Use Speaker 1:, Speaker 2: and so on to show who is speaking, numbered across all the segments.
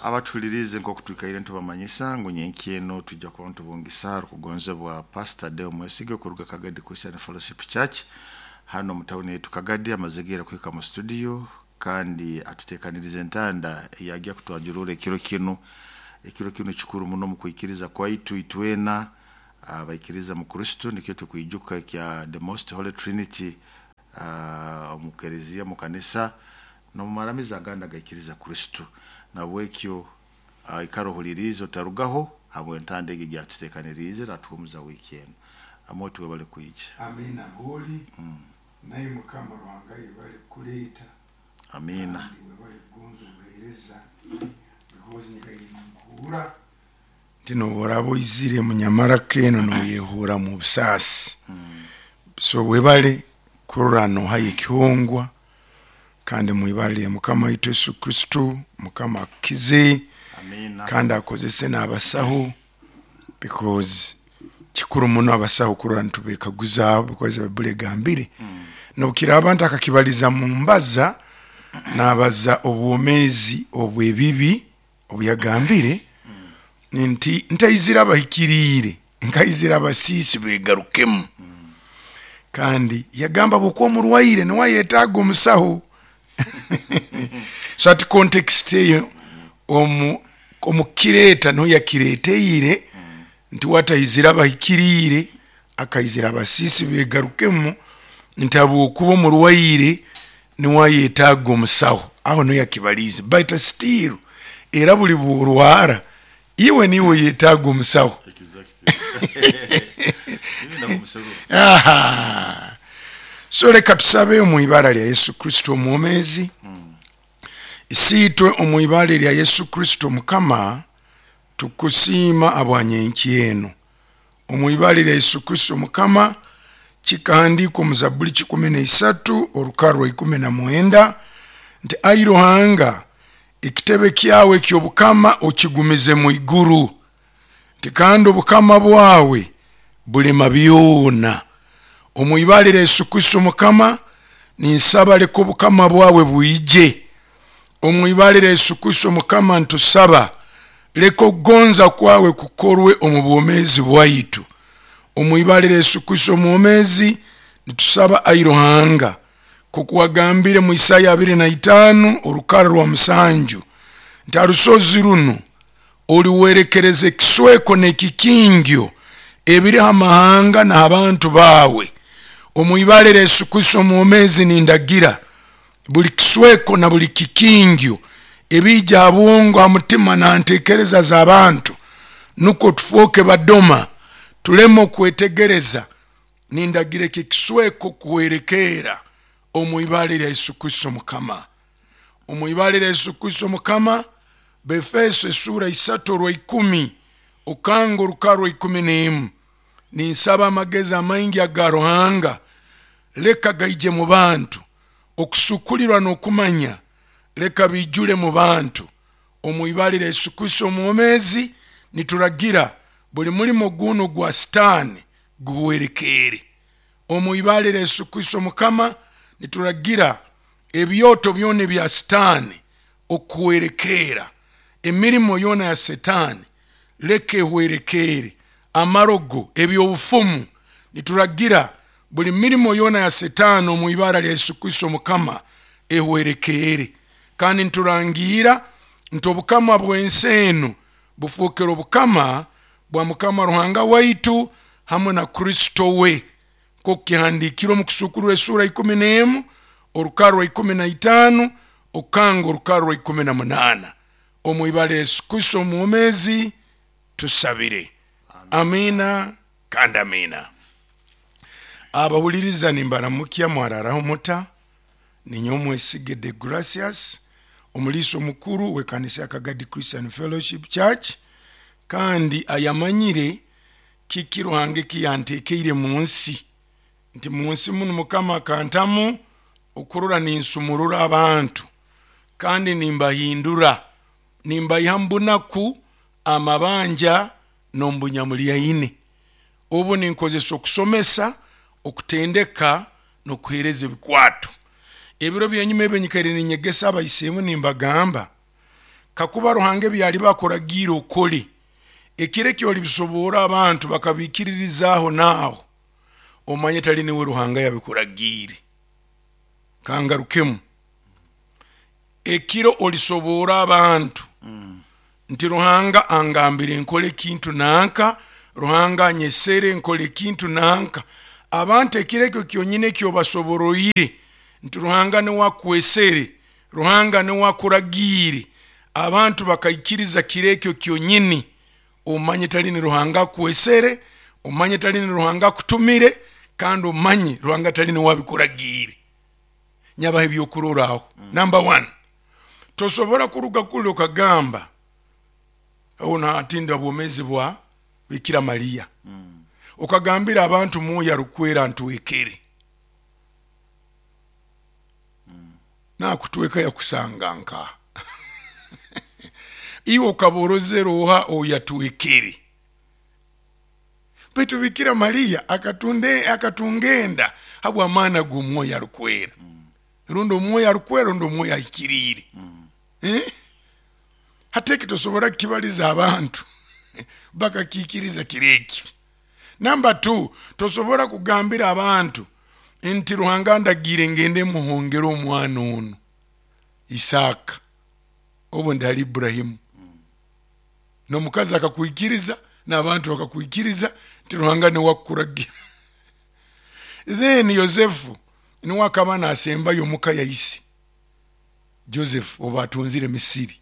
Speaker 1: Abatuhulirize, nk'oku twikaire ntubamanyisa ngu nyenkya eno tujja kuba ntubungisa arukugonzebwa Pastor Deo Mwesige kuruga Kagadi Christian Fellowship Church hano mu tawuni yaitu Kagadi. Amaze kuhika mu studio kandi atuteekaniriza entanda eyagya kutwanjurura ekiro kinu. Ekiro kinu kikuru muno mu kwikiriza kwaitu itwena abaikiriza mu Kristo. Nikyo tukwijuka ekya the Most Holy Trinity omu kereziya, mu kanisa n'omu maramizo agandi agaikiriza Kristo. Nabwekyo ikara ohuliriize, otarugaho, habw'entanda egi egyatuteekaniriize natuhumuza wiiki enu. Amoti, webale kwija.
Speaker 2: Amina booli naye Mukama Ruhanga yebale kukuleeta.
Speaker 1: Amina.
Speaker 2: Kandi webale kugonza obuheereza, because nyikaire ninkuhurra nti noba oraba oizire munyamaraka eno noyehurramu obusaasi. So webale kurora nohayo ekihongwa, kandi mwibara lya Mukama waitu Yesu Kristo, Mukama akukize.
Speaker 1: Amina.
Speaker 2: Kandi akozese n'abasaho, because kikuru muno abasaho kurora nitubekaguzaaho, because Baibuli egambire nobukiraaba nti akakibaliza mu mbaza nabaza obwomezi obw'ebibi, obu yagambire nti ntaizire abahikiriire, nkaizira abasiisi begarukemu. Kandi yagamba bwokuba omurwaire niwe ayetaaga omusaho. So ati context eyo omukireeta niho yakireeteire nti wataizire abahikiriire, akaizira abasiisi begarukemu, nti habwokuba omurwaire niwe ayetaaga omusaho, aho niho yakibaliize. But still era buli bworwara iwe niwe oyetaaga omusaho. Aha. So leka tusabe omu ibara lya Yesu Kristo omwomezi. Isiitwe omu ibara lya Yesu Kristo Mukama, tukusiima habwa nyenkya eno. Omu ibara lya Yesu Kristo Mukama, kikahandiikwa omu Zabuli 13 orukara rwa 19 nti ai Ruhanga, ekitebe kyawe eky'obukama okigumize mu iguru, nti kandi obukama bwawe bulema byona. Omu ibara lya Yesu Kristo Mukama, ninsaba leka obukama bwawe bwije. Omu ibara lya Yesu Kristo Mukama, ntusaba leka okugonza kwawe kukorwe omu bwomezi bwaitu. Omu ibara lya Yesu Kristo omwomezi, nitusaba ai Ruhanga, nkoku wagambire mu Isaya 25 orukara rwa 7 nti arusozi runo oliwerekereza ekisweko n'ekikingyo ebiriho amahanga n'abantu baawe. Omu ibara lya Yesu Kristo omwomezi, nindagira buli kisweko na buli kikingyo ebiija ha bwongo, ha mutima na ntekereza z'abantu, nukwo tufooke badoma tuleme okwetegereza. Nindagira eki ekisweko kuhwerekeera omu ibara lya Yesu Kristo Mukama. Omu ibara lya Yesu Kristo Mukama, Befeso esura 3 orwa 10 okanga orukara rwa 11, ninsaba amagezi amaingi aga Ruhanga leka gaije mu bantu, okusukulirwa n'okumanya leka bijule mu bantu. Omu ibara lya Yesu Kristo omwomezi, nituragira buli mulimo guno gwa Sitaani guhwerekeere. Omu ibara lya Yesu Kristo Mukama, nituragira ebyoto byona ebya Sitaani okuhwerekeera, emirimo yoona ya Setaani leka ehwerekeere, amarogo, ebyobufumu, nituragira buli mirimo yoona ya Setaani omu ibara lya Yesu Kristo Mukama ehwerekeere. Kandi niturangiira nti obukama bw'ensi enu bufookere obukama bwa Mukama Ruhanga waitu hamwe na Kristo we, nk'oku kihandiikirwe omu Kusuukururwa esuura 11 orukara rwa 15 okanga orukara rwa 18. Omu ibara Yesu Kristo omwomezi tusabire, amina kandi amina. Abahuliriza, nimbaramukya, mwararaho muta? Ninyowe Mwesige De Gracias, omuliisa omukuru w'ekanisa ya Kagadi Christian Fellowship Church, kandi ayamanyire kiki Ruhanga eki yanteekeire mu nsi, nti mu nsi munu Mukama akantamu okurora ninsumurura abantu kandi nimbahindura, nimbaiha mu bunaku, amabanja n'omu bunyamulyaine. Obu ninkozesa okusomesa, okutendeka n'okuheereza ebikwato. Ebiro byenyuma ebi nyikaire ninyegesa abaisemu, nimbagamba. Kakuba Ruhanga ebyaliba akuragiire okole, ekiro eki olibisoborra abantu bakabiikiririzaaho naaho, omanye tali niwe Ruhanga yabikuragiire. Kangarukemu. Ekiro olisoborra abantu nti Ruhanga angambire nkole ekintu nanka, Ruhanga anyesere nkole ekintu nanka, abantu ekiro ekyo kyonyini ekyobasoboroire nti Ruhanga niwe akwesere, Ruhanga niwe akuragiire, abantu bakaikiriza kiro ekyo kyonyini, omanye tali ni Ruhanga akwesere, omanye tali ni Ruhanga akutumire, kandi omanye Ruhanga tali niwe abikuragiire. Nyabaha ebyokurorraho. Number one, tosobora kuruga kuli okagamba onu atinda obwomezi bwa Bikira Maria, okagambira abantu Mwoyo Arukwera ntwekere. Nakutweka yakusanga nkaha? Iwe okaba orozere oha ou yatwekere? Baitu Bikira Maria akatunga enda habw'amaani ag'Omwoyo Arukwera, rundi Omwoyo Arukwera rundi Omwoyo Ahikiriire. Hati eki tosobora kukibaliza abantu bakakiikiriza kiro eki. Namba tu, tosobora kugambira abantu nti Ruhanga andagiire ngende muhongere omwana onu Isaaka, obu ndi hali Iburahimu. N'omukazi akakwikiriza n'abantu bakakwikiriza nti Ruhanga niwe akukuragira. Then Yosefu niwe akaba nasembayo omuka ya ise Joseph obu atunzire Misiri.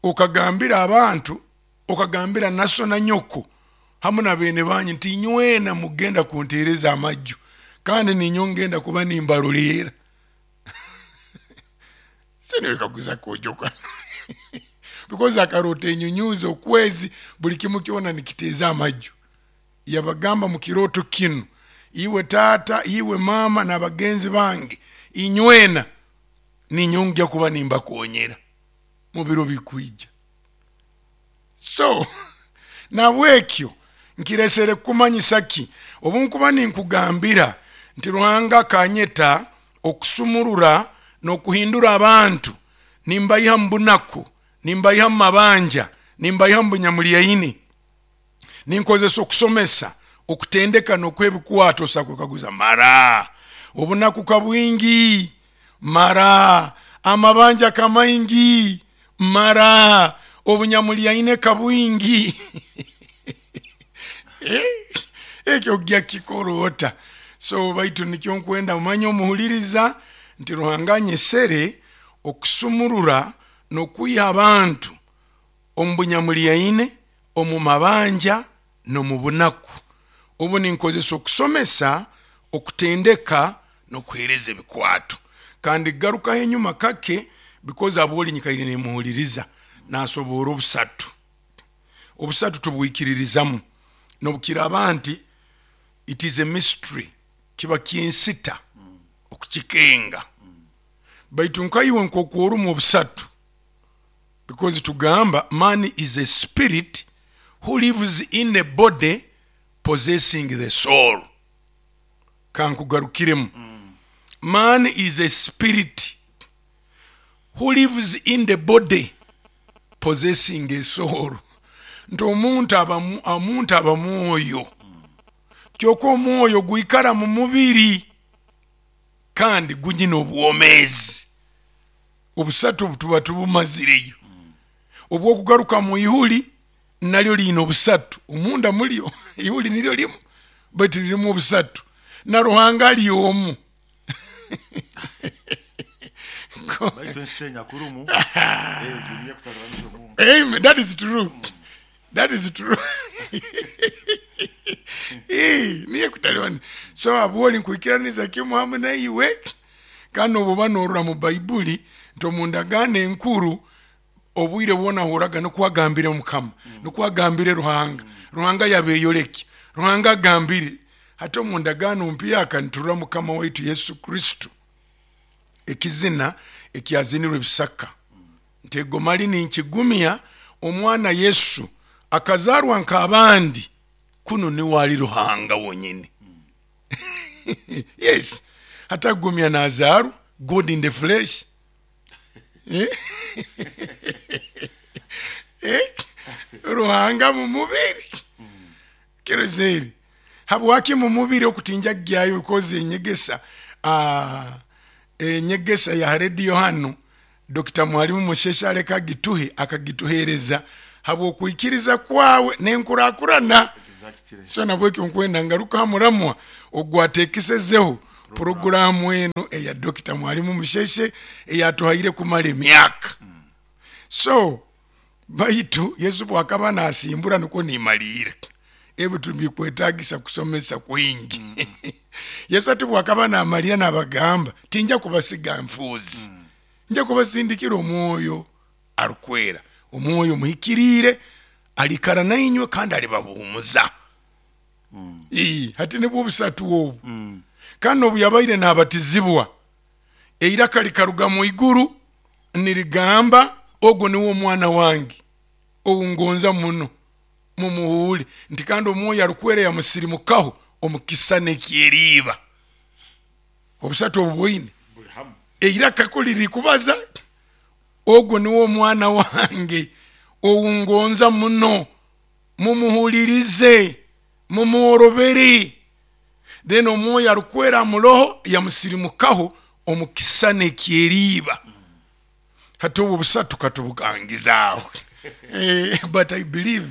Speaker 2: Okagambira abantu, okagambira na so na nyoko hamu na beene banyu nti inywena mugenda kunteereza amaju kandi ninyowe ngenda kuba nimbaroleera. Siniwekaguza kojoka because akaroota enyunyuuzi, okwezi, buli kimu kyona nikiteeza amaju. Yabagamba mu kirooto kinu, iwe taata, iwe maama n'abagenzi bange, inywena ninyowe ngya kuba nimbakonyera mu biro bikwija. So nabwekyo nkiresere kukumanyisa ki? Obunkuba ninkugambira nti Ruhanga akanyeta okusumurura n'okuhindura abantu, nimbaiha mu bunaku, nimbaiha mu mabanja, nimbaiha mu bunyamulyaini, ninkozesa okusomesa, okutendeka n'okuha ebikwato, osa kwekaguza, mara obunaku ka bwingi, mara amabanja ka maingi, mara obunyamulyaine ka bwingi. Ekyo ogya kukikora ota? So baitu nikyo nkwenda omanye omuhuliriza nti Ruhanga anyesere okusumurura n'okwiha abantu omu bunyamulyaine, omu mabanja, n'omu bunaku. Obu ninkozesa okusomesa, okutendeka, n'okuheereza ebikwato. Kandi garukaho enyuma kake because abwoli nyikaire nimuhuliriza nasoboora obusatu. Obusatu tubwikiririzamu nobukiraaba nti it is a mystery, kiba ky'ensita okukikenga. Baitu nkaiwe nk'oku orumu obusatu, because tugamba man is a spirit who lives in a body possessing the soul. Kankugarukiremu. Man is a spirit who lives in the body possessing a soul. Nti omuntu aba omuntu aba mwoyo, kyokka omwoyo gwikara mu mubiri kandi gunyina obwomeezi. Obusatu obu tuba tubumazireyo. Obwokugaruka mu ihuli nalyo liine obusatu omunda mulyo, ihuli niryo limu baitu lirimu obusatu, na Ruhanga ali omu.
Speaker 1: Baitu ensita enyakurumu niyo ekutalibaniza omuntu.
Speaker 2: Amen. That is true. That is true. Niyo ekutalibaniza. So abwoli nkwikiraniza kimu hamu naiwe, kandi nobu oba norora mu Baibuli nti omu ndagaano enkuru obwire bwona ahuraga nukwo agambire Mukama, nukwo agambire Ruhanga, Ruhanga yabeyolekya, Ruhanga agambire. Hati omu ndagaano mpyaka niturora Mukama waitu Yesu Kristo, ekizina ekyazinirwe ebisaka nti ego mali ninkigumya omwana Yesu akazarwa nk'abandi, kunu niwe ali Ruhanga wonyini. Yes, hati agumya nazarwa, God in the flesh. Ruhanga mu mubiri. Kirozere habwaki mu mubiri okutinja kugyayo, because enyegesa enyegesa ya rediyo hanu Dr. Mwalimu Musheshe aleka agituhe, akagituhereza habw'okwikiriza kwawe n'enkurakurana. So nabwekyo nkwenda ngaruka ha muramwa ogwateekesezeho puroguramu enu eya Dr. Mwalimu Musheshe eyatuhaire kumara emyaka. So baitu Yesu bwakaba nasimbura nukwo nimaliira. Ebi tibikwetagisa kusomesa kwingi. Yesu ati bwakaba namalira nabagamba, tinja kubasiga nfuuzi, nja kubasindikira Omwoyo arukwera, Omwoyo muhikiriire alikara nainywe kandi alibahuumuza. Hati nibwo obusatu obu. Kandi obu yabaire nabatizibwa, eiraka likaruga mu iguru nirigamba, ogu niwe Omwana wange ou ngonza muno, mumuhuule. Nti kandi Omwoyo arukwera yamusirimukaho omu kisisani eky'eriiba. Obusatu obu bwoine eiraka kuli lirikubaza, ogu niwe Omwana wange ou ngonza muno, mumuhulirize, mumworobere. Then Omwoyo arukwera amuroho yamusirimukaho omu kisisani eky'eriiba. Hati obu obusatu katubukangize aho. But I believe,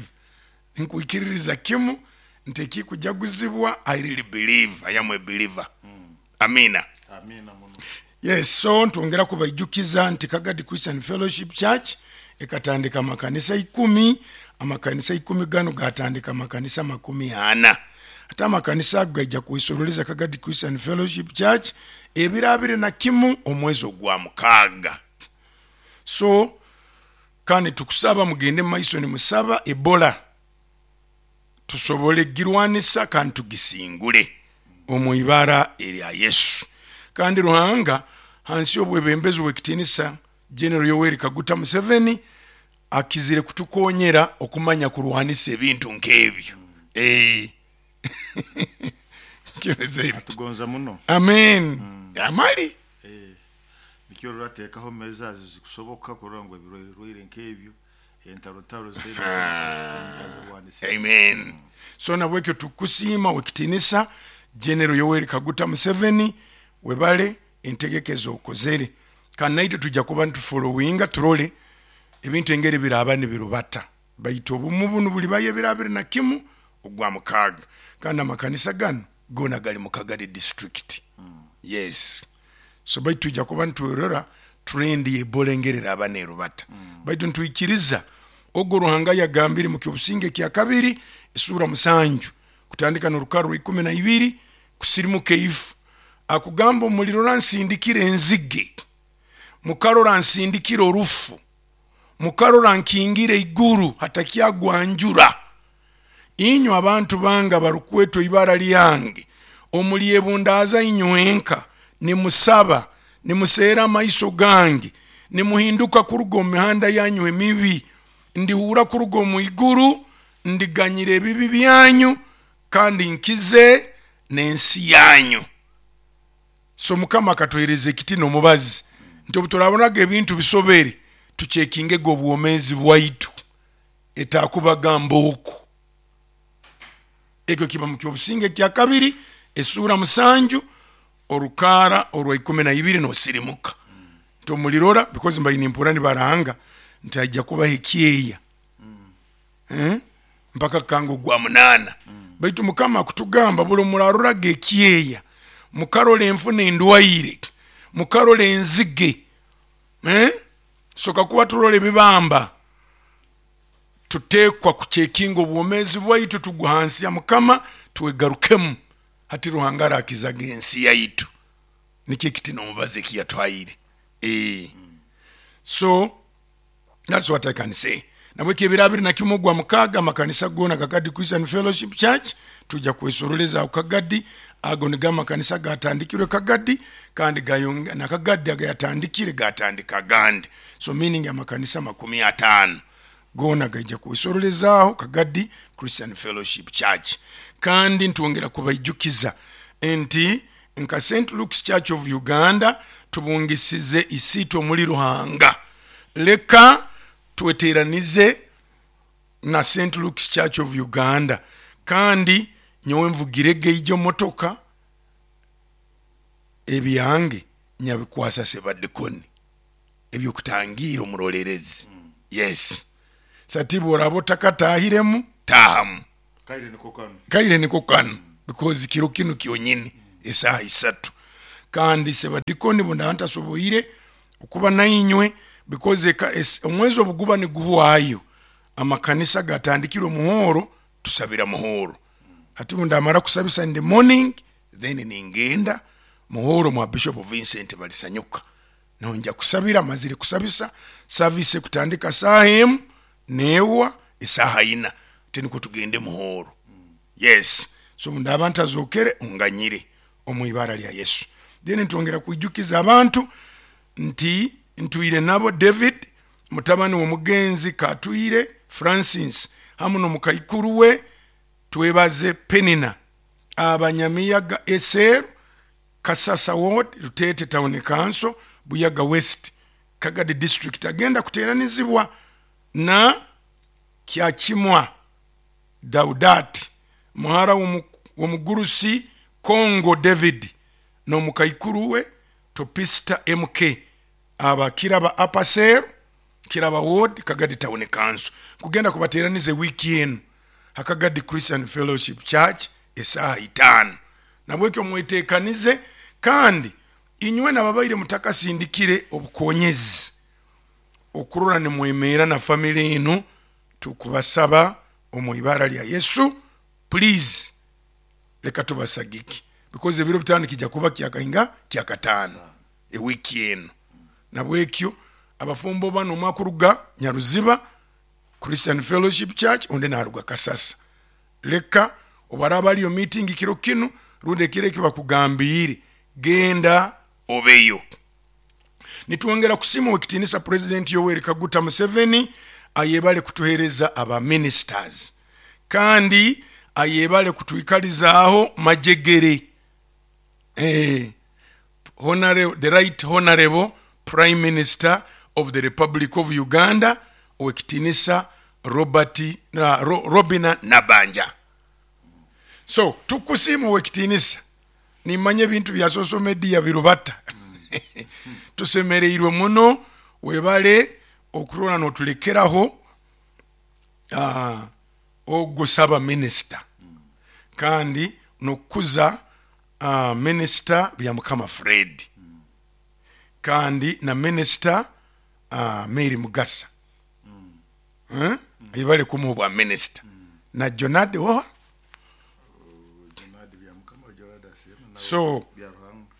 Speaker 2: nkwikiririza kimu nti ekikujaguzibwa, I really believe, I am a believer. Amina.
Speaker 1: Amina muno.
Speaker 2: Yes, so ntwongera kubaijukiza nti Kagadi Christian Fellowship Church ekatandika amakanisa 10, amakanisa 10 ganu gatandika amakanisa 40. Ate amakanisa ago gaija kwesoroleza Kagadi Christian Fellowship Church ebiro 21 omwezi ogwa 6. So kandi tukusaba mugende mumaiso nimusaba Ebola tusobole kugirwanisa kandi tugisingule omu ibara erya Yesu. Kandi Ruhanga hansi y'obwebembezi bw'ekitinisa General Yoweri Kaguta Museveni akizire kutukonyera okumanya kurwanisa ebintu nk'ebyo.
Speaker 1: Atugonza muno.
Speaker 2: Amen. Amali.
Speaker 1: Nikyo rurateekaho measures zikusoboka kurora ngu ebirwaire nk'ebyo entarotaro.
Speaker 2: Amen. So nabwekyo tukusiima wekitinisa General Yoweri Kaguta Museveni, webale entegeka ezokozere, kandi naitwe tujja kuba nitufolowinga turole ebintu engeri biraba nibirubata. Baitu obumu bunu bulibayo ebiro 21 ogwa 6, kandi amakanisa ganu gona gali mu Kagadi district. Yes, so baitu tujja kuba nitwerora trend ya Ebola engeri eraba nerubata. Baitu nitwikiriza ogo Ruhanga yagambire mu Kyobusinge kyakabiri esura 7 kutandika n'orukara rwa 12 kusirimuka eifu, akugamba omulirora nsindikire enzige, mukarora nsindikire orufu, mukarora nkingire iguru hatakyagwa njura. Inywe abantu bange abarukwetwa ibara lyange, omulyebundaaza inywenka, nimusaba, nimuseera amaiso gange, nimuhinduka kuruga omu mihanda yanyu emibi, ndihuura kuruga omu iguru, ndiganyira ebibi byanyu, kandi nkize n'ensi yanyu. So Mukama akatuhereza ekiti n'omubazi nti obu turabonaga ebintu bisobere, tukyekingege obwomeezi bwaitu etakubaga mbooko. Ekyo kiba mu Kyobusinge kyakabiri esuura 7 orukaara orwa 12 nosirimuka nti omulirora, because mbaire nimpurra nibaranga nti haija kubaho ekyeya mpaka kanga ogwa 8. Baitu Mukama akutugamba buli muraroraga ekyeya, mukarora enfu n'endwaire, mukarora enzige, so kakuba turora ebibamba, tutekwa kucekinga obwomeezi bwaitu, tugwa hansi ya Mukama, twegarukemu. Hati Ruhanga arakizaga ensi yaitu, nikyo ekiti n'omubazi ekiyatuhaire. So that's what I can say. Nabwekyo ebiro 21 ogwa 6 amakanisa goona Kagadi Christian Fellowship Church tujja kwesoroleza aho Kagadi. Ago nigo amakanisa gatandikirwe Kagadi, kandi na Kagadi agayatandikire gatandika agandi. So meaning amakanisa 50 goona gaija kwesorolezaaho Kagadi Christian Fellowship Church. Kandi ntwongera kubaijukiza nti nka St. Luke's Church of Uganda tubungisize isiitwe omuli Ruhanga. Leka tweteranize. Na St Luke's Church of Uganda. Kandi nyowe nvugirege ijo motoka, ebyange nyabikwasa sebadikoni ebyokutangiira omurolerezi. Yes, sati bworaba otakatahiremu, tahamu.
Speaker 1: Kaire niko kanu.
Speaker 2: Kaire niko kanu, because kiro kinu kyonyini esaaha 3. Kandi sebadikoni bundaba ntasoboire okuba nainywe, because omwezi obuguba niguhwayo, amakanisa gatandikirwe muhoro, tusabira muhoro. Hati bundamara kusabisa in the morning, then ningenda muhoro mwa Bishop Vincent Balisanyuka, nonja kusabira. Mazire kusabisa, service ekutandika saaha 1 newa esaaha 4, ate nikwo tugende muhoro. Yes, so bundaba ntazokere, onganyire omu ibara lya Yesu. Then ntwongera kwijukiza abantu nti ntwire nabo David mutabani w'omugenzi Katwire Francis hamu n'omukaikuru we Twebaze Penina, abanyamiyaga Eseru, Kasasa Ward, Rutete Town Council, Buyaga West, Kagadi District, agenda kuteranizibwa na Kyakimwa Daudati, muhara w'omugurusi Congo David n'omukaikuru we Topista MK, aba Kiraba Upper Seru, Kiraba Ward, Kagadi Town Council. Kugenda kubateraniza wiiki enu Hakagadi Christian Fellowship Church esaaha 5. Nabwekyo mwetekanize, kandi inywe nababaire mutakasindikire obukonyezi okurora nimwemeera na family enu, tukubasaba omu ibara lya Yesu, please leka tubasagike, because ebiro 5 kijja kuba kyakainga kyakataano ewiiki enu. Nabwekyo abafumbo bano, omwe akuruga Nyaruziba Christian Fellowship Church, ondi naruga Kasasa, leka obaraba aliyo meeting kiro kinu rundi ekiro eki bakugambiire, genda obeyo. Nitwongera kusiima owekitinisa President Yoweri Kaguta Museveni, ayebale kutuhereza aba ministers, kandi ayebale kutwikalizaaho majegere, the right honorable Prime Minister of the Republic of Uganda, owekitinisa Robert Robina Nabanja. So tukusiima owekitinisa, nimanya ebintu bya social media birubata, tusemereirwe muno, webale okurora notulekeraho ogwo saba minisita, kandi nokukuza minisita Byamukama Fred, kandi na minisita Mary Mugasa, ibale kumuha obwa minisita, na Jonadi oha. So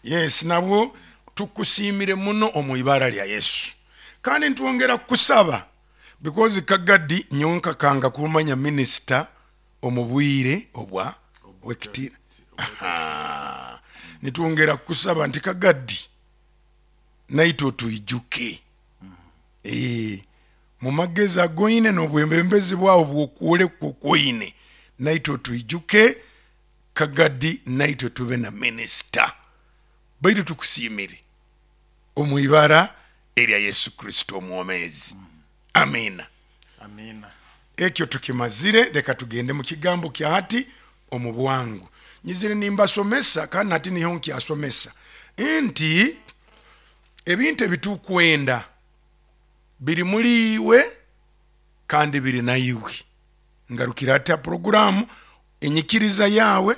Speaker 2: yes, nabwo tukusiimire muno omu ibara lya Yesu. Kandi ntwongera kusaba, because Kagadi nyowe nkakanga kumanya minisita omu bwire obwa wekitira. Nitwongera kusaba nti Kagadi naitwe otwijuke mu magezi agoine n'obwebembezi bwawe bwokwolekwa okwoine, naitwe otwijuke Kagadi, naitwe tube na minisita. Baitu tukusiimire omu ibara erya Yesu Kristo omwomezi. Amina.
Speaker 1: Amina.
Speaker 2: Ekyo tukimazire, leka tugende mu kigambo kya hati omu bwangu. Nyizire nimbasomesa, kandi hati niho nkyasomesa nti ebintu ebitukwenda biri muri iwe kandi biri naiwe. Ngarukira ata programu enyikiriza yawe.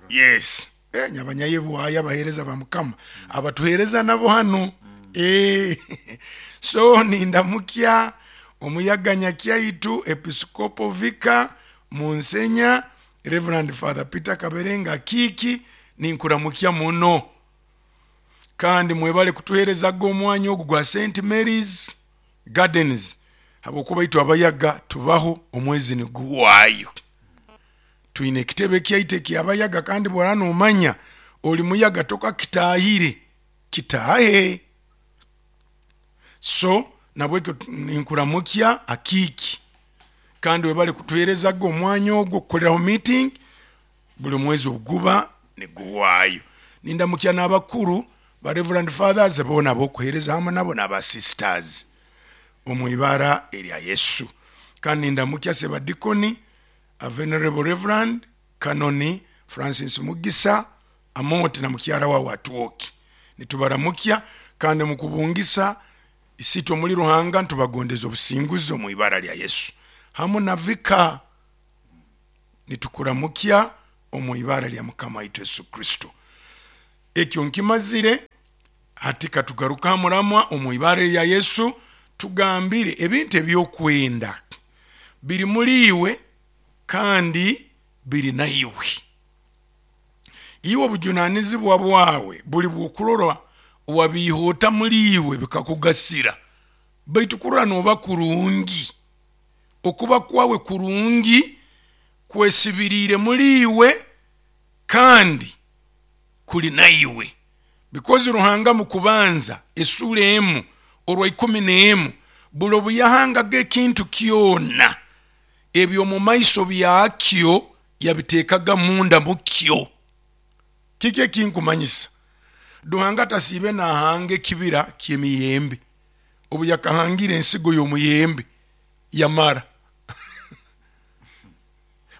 Speaker 2: Yes, nyabanyayebwayo abahereza ba Mukama abatuhereza nabo hano. So nindamukya omuyaganya kyaitu Episcopo Vicar Munsenya Reverend Father Peter Kaberenga Kiki, ninkuramukya muno, kandi mwebale kutuherezaga omwanya ogu gwa St Mary's Gardens, habwokuba itwe abayaga tubaho omwezi niguwayo, twine ekitebe kyaitu ekyabayaga, kandi bwora nomanya oli muyaga tokakitahire, kitahe. So nabwekyo ninkuramukya akiki, kandi webale kutuherezaga omwanya ogwo kukoreraho meeting buli mwezi oguba niguwayo. Nindamukya n'abakuru ba Reverend Fathers bona abokuhereza hamwe nabo n'aba sisters omu ibara erya Yesu. Kandi ndamukya sebadikoni a Venerable Reverend Kanoni Francis Mugisa Amooti na mukyara wawe Atwoki, nitubaramukya kandi mukubungisa isitwe omuli Ruhanga ntubagondeza obusinguzi omu ibara lya Yesu. Hamu na vika nitukuramukya omu ibara lya Mukama waitu Yesu Kristo. Ekyo nkimazire, hati katugaruka muramwa omu ibara lya Yesu, tugambire ebintu ebyokwenda biri muri iwe kandi biri naiwe. Iwe obujunanizibwa bwawe buli bwokurora wabiihota muri iwe bikakugasira, baitu kurora noba kurungi, okuba kwawe kurungi kwesibiriire muri iwe kandi kuli naiwe. Because Ruhanga mu kubanza esura 1 orwa 11 buli obuyahangaga ekintu kyona ebyo mu maiso byakyo yabiteekaga munda mukyo. Kiki ekinkumanyisa? Ruhanga tasiibe nahanga ekibira ky'emiyembe, obu yakahangire ensigo y'omuyembe yamara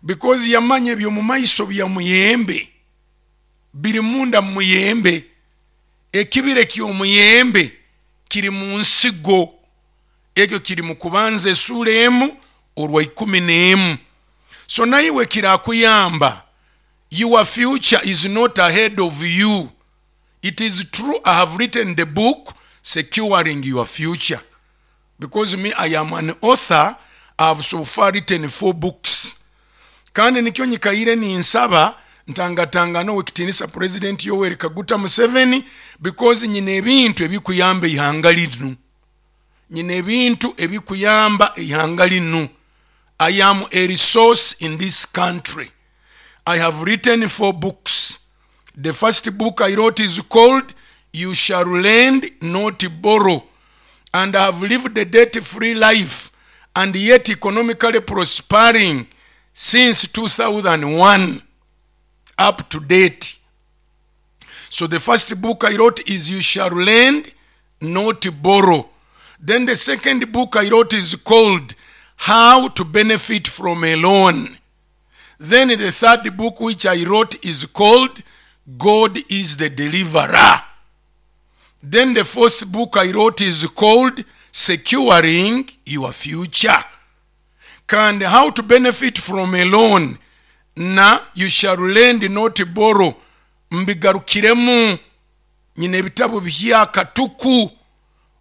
Speaker 2: because yamanya ebyo mu maiso bya muyembe biri munda mu muyembe. Ekibira ky'omuyembe kiri mu nsigo, ekyo kiri mu kubanza esura 1 orwa 11. So naiwe kirakuyamba, your future is not ahead of you. It is true, I have written the book Securing Your Future, because me, I am an author. I have so far written 4 books. Kandi nikyo nyikaire ninsaba ntangatangano wekitinisa President Yoweri Kaguta Museveni, because nyina ebintu ebikuyamba ihanga linu, nyina ebintu ebikuyamba ihanga linu. I am a resource in this country. I have written 4 books. The first book I wrote is called You Shall Lend, Not Borrow. And I have lived a debt-free life and yet economically prospering since 2001 up to date. So the first book I wrote is You Shall Lend, Not Borrow. Then the second book I wrote is called How to Benefit from a Loan. Then the third book which I wrote is called God is the Deliverer. Then the fourth book I wrote is called Securing Your Future. And How to Benefit from a Loan na You Shall Lend Not Borrow mbigarukiremu. Nyina ebitabo byakatuku,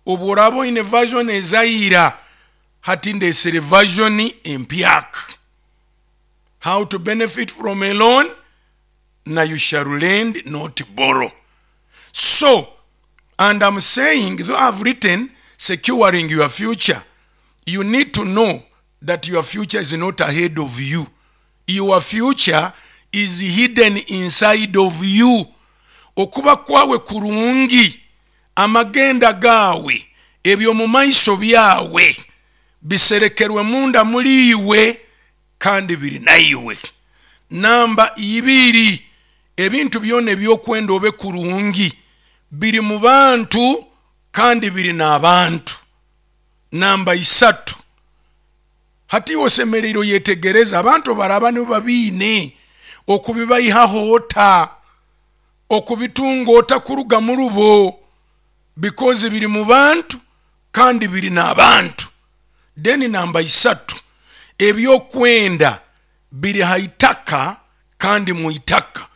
Speaker 2: obu oraba oine version ezaira, hati ndesere version empyaka. How to Benefit from a Loan na You Shall Lend Not Borrow. So, and I'm saying, though I've written Securing Your Future, you need to know that your future is not ahead of you. Your future is hidden inside of you. Okuba kwawe kurungi, amagenda gawe, ebyo mu maiso byawe biserekerwe munda muri iwe kandi biri naiwe. Namba 2, ebintu byona ebyokwenda obe kurungi biri mu bantu kandi biri n'abantu. Namba 3, hati osemereire oyetegereza abantu baraba nibo babiine okubibaihaho ota, okubitunga ota kuruga mu rubo, because biri mu bantu kandi biri n'abantu. Then namba 3, ebyokwenda biri haitaka kandi mu itaka.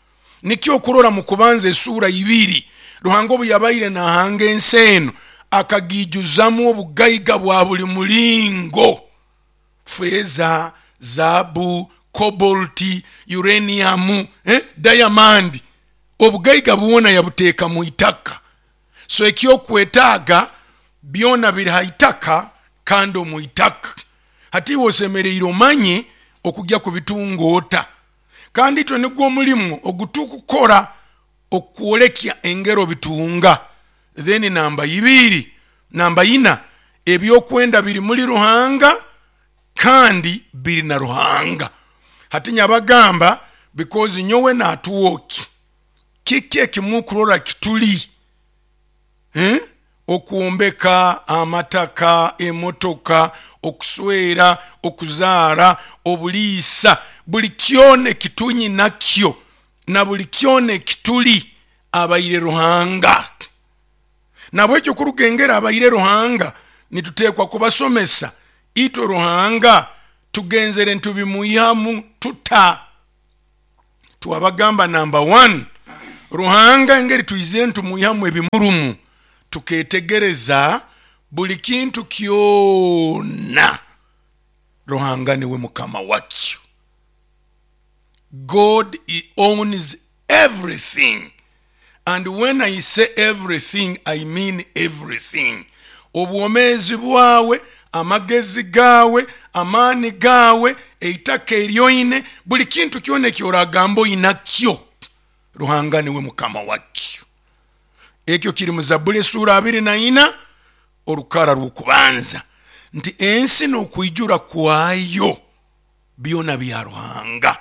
Speaker 2: Nikyo okurora mu kubanza esura 2, Ruhanga obu yabaire nahanga ensi eno akagijuzamu obugaiga bwa buli mulingo, feza, zaabu, kobolti, uranium, diamond, obugaiga bwona yabuteeka mu itaka. So ekyokwetaaga byona biri haitaka kandi omu itaka. Hati iwe osemereire omanye okujya kubitunga ota. Kandi itwe nigwo omulimu ogutukukora okwolekya engero bitunga. Then namba 2, namba 4, ebyokwenda biri muri Ruhanga kandi biri na Ruhanga. Hati nyabagamba, because nyowe natuwoki kiki ekimukurora kituli? Okwombeka, amataka, emotoka, okuswera, okuzaara, obuliisa, buli kyona ekitunyinakyo na buli kyona ekituli abaire Ruhanga. Nabwekyo kurugengera abaire Ruhanga, nituteekwa kubasomesa itwe Ruhanga tugenzere ntubimwihamu tuta. Twabagamba namba 1, Ruhanga engeri twizire ntumwihamu ebimurumu, tuketegereza buli kintu kyona Ruhanga niwe mukama wakyo. God owns everything, and when I say everything I mean everything. Obwomeezi bwawe, amagezi gawe, amaani gawe, eitaka eryoine, buli kintu kyona ekyoragamba oinakyo, Ruhanga niwe mukama wakyo. Ekyo kiri mu Zabuli esuura 24 orukara rw'okubanza, nti ensi n'okwijura kwayo byona bya Ruhanga.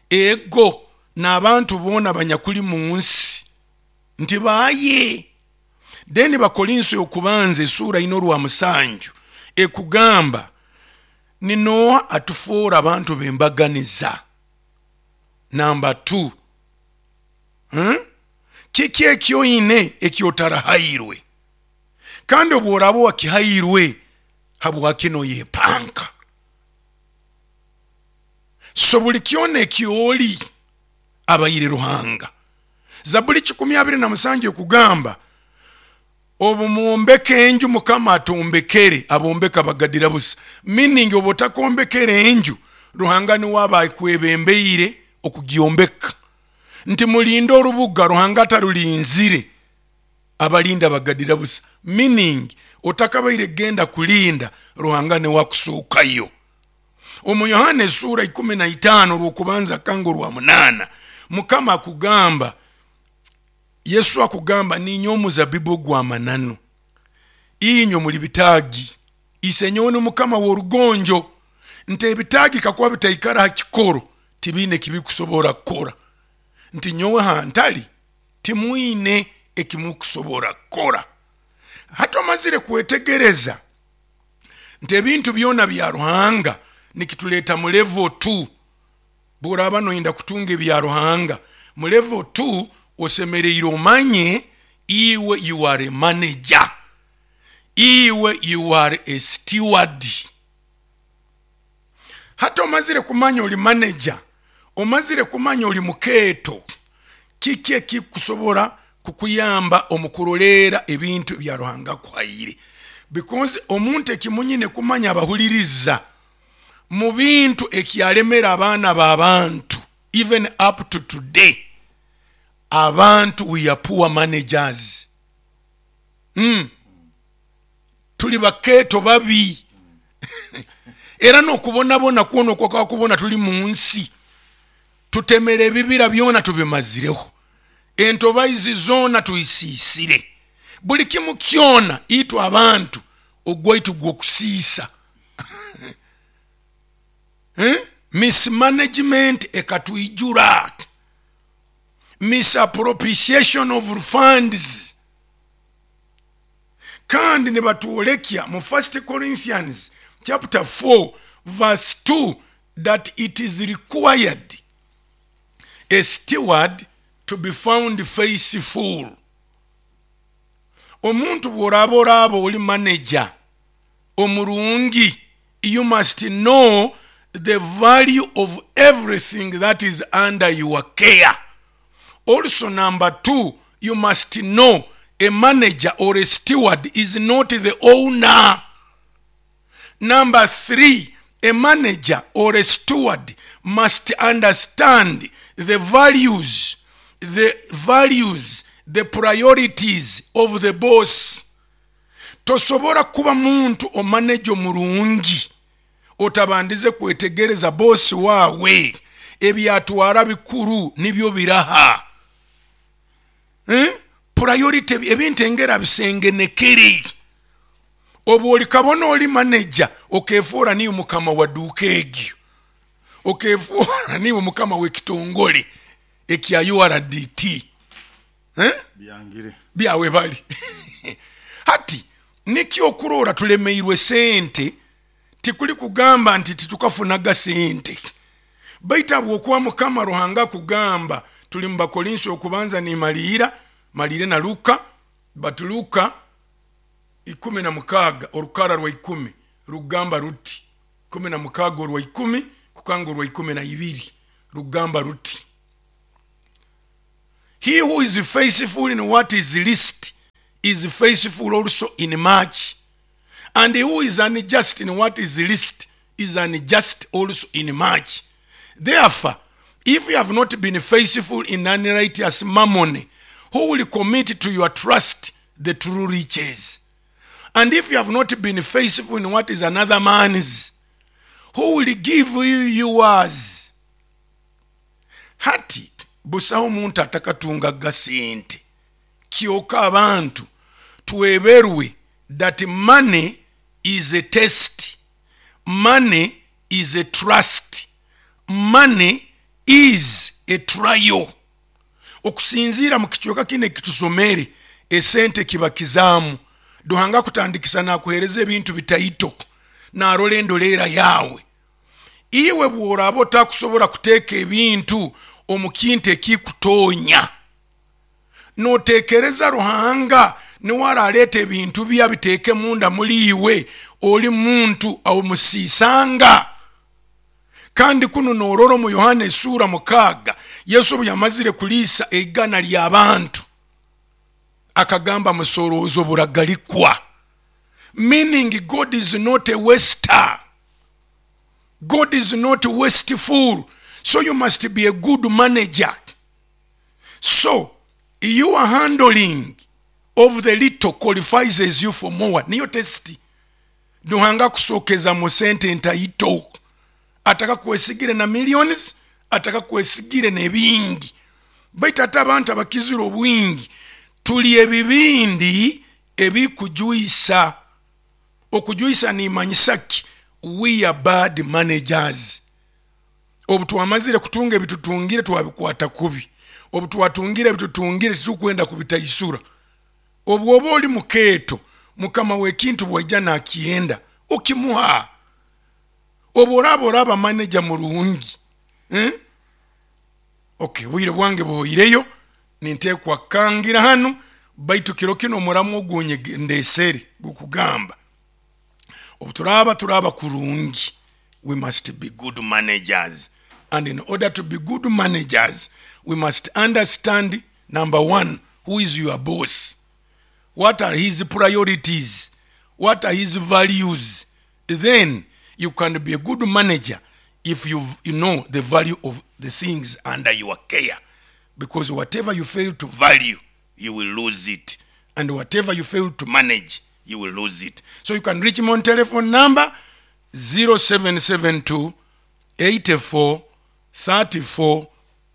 Speaker 2: Ego n'abantu boona banyakuli mu nsi nti baaye. Then Bakorinso y'okubanza esuura ina orwa musanju ekugamba ni Nooha atufoora abantu b'embaganiza. Namba 2, kiki ekyoine ekyotarahairwe? Kandi obworaaba wakihairwe, habwaki noyepanka? So buli kyona ekyoli abaire Ruhanga. Zabuli 127 ekugamba obu mwombeka enju Mukama atombekere, abombeka bagadira busa. Meaning obu otakombekere enju, Ruhanga niwe aba akwebembeire okugyombeka. Nti mulinde orubuga Ruhanga atarulinzire, abalinda bagadira busa. Meaning otakabaire genda kulinda, Ruhanga niwe akusookayo. Omu Yohana esuura 15 orw'okubanza kanga orwa 8, Mukama akugamba, Yesu akugamba, ninyowe omuzabibu ogw'amananu, inywe muli bitaagi, isenyowe ni Mukama w'orugonjo. Nti ebitaagi kakuba bitaikara ha kikoro, tibiine ekibikusobora kukora. Nti nyowe hantali timwine ekimukusobora kukora. Hati omazire kwetegereza nti ebintu byona bya Ruhanga nikituleeta mu level 2. Bw'oraaba noyenda kutunga ebya Ruhanga mu level 2, osemereire omanye iwe you are a manager, iwe you are a steward. Hati omazire kumanya oli manager, omazire kumanya oli mukeeto, kiki ekikusobora kukuyamba omu kuroleera ebintu ebya Ruhanga akuhaire? Because omuntu ekimunyine kumanya abahuliriza mu bintu ekyalemera abaana b'abantu even up to today, abantu we are poor managers. Tuli bakeeto babi. Era n'okubonabona kwona okwakakubona tuli mu nsi, tutemera ebibira byona tubimazireho, entobaizi zoona tuisiisire, buli kimu kyona itwe abantu ogwaitu gw'okusiisa. Mismanagement ekatwijura, misappropriation of funds. Kandi nibatwolekya mu 1 Corinthians chapter 4 verse 2 that it is required a steward to be found faithful. Omuntu bw'oraaba oraaba oli manager omurungi, you must know the value of everything that is under your care. Also number 2, you must know a manager or a steward is not the owner. Number 3, a manager or a steward must understand the values, the priorities of the boss. Tosobora kuba muntu omaneja omurungi otabandize kwetegereza bosi wawe ebyatwara bikuru nibyo biraha. Priority ebintu engera bisengenekere. Obu oli kabona oli manager okefora niwe mukama wa duka egyo, okefora niwe mukama w'ekitongole ekya URDT.
Speaker 1: Byangire
Speaker 2: byawe bali. Hati nikyo okurora tulemeirwe sente, tikuli kugamba nti titukafunaga sente, baitu habwokuba Mukama Ruhanga kugamba tuli mu Bakorinso okubanza nimaliira malire na Luka, but Luka 16 orukara rwa 10 rugamba ruti, 16 orwa 10 kukanga orwa 12 rugamba ruti, he who is faithful in what is least is faithful also in much, and he who is unjust in what is least is unjust also in much. Therefore, if you have not been faithful in unrighteous mammon, who will commit to your trust the true riches? And if you have not been faithful in what is another man's, who will give you yours? Hati busaho omuntu atakatungaga sente, kyoka abantu tweberwe that money is a test, money is a trust, money is a trial. Okusinziira mu kicweka kino ekitusomere, esente kiba kizaamu. Ruhanga kutandikisa nakuhereza ebintu bitaito, narola endoleera yawe. Iwe bworaba otakusobora kuteeka ebintu omu kintu ekikutonya, notekereza Ruhanga niwe araleeta ebintu bye abiteeke munda muli iwe, oli muntu omusiisanga. Kandi kuno norora omu Yohana esura 6, Yesu obu yamazire kuliisa eigana ly'abantu, akagamba musoroozo buragalikwa, meaning God is not a waster, God is not wasteful, so you must be a good manager. So your handling of the little qualifies you for more. Niyo testi. Ruhanga kusokeza mu sente ntaito, ataka kwesigire na millions, ataka kwesigire nebingi. Baitu ate abantu abakizira obwingi tuli ebibindi ebikujuisa. Okujuisa nimanyisa ki? We are bad managers. Obu twamazire kutunga ebitutungire twabikwata kubi, obu twatungire ebitutungire titukwenda kubitaisura. Obu oba oli mukeeto, mukama w'ekintu bwaija nakyenda okimuha. Obu oraba oraba manager murungi, Okay, bwire bwange buhoireyo, ninteekwa kukangira hanu, baitu kiro kino omuramu ogunye ndesere gukugamba obu turaba turaba kurungi, we must be good managers, and in order to be good managers we must understand, number one, who is your boss, what are his priorities, what are his values. Then you can be a good manager if you know the value of the things under your care, because whatever you fail to value, you will lose it, and whatever you fail to manage, you will lose it. So you can reach me on telephone number 0772 84 34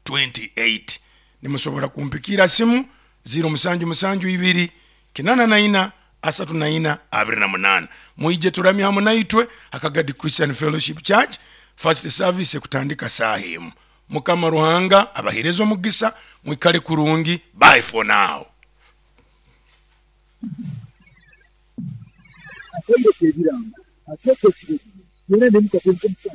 Speaker 2: 28. Nimusobora kumpikira simu 0772 84 34 28. Mwije turamye hamwe naitwe Akagadi Christian Fellowship Church. First service kutandika saa emu. Mukama Ruhanga abahereze omugisa, mwikale kurungi. Bye for now.
Speaker 3: Akaire k'ebirango akeeko ekiragiro kyona nemukatonka omusango.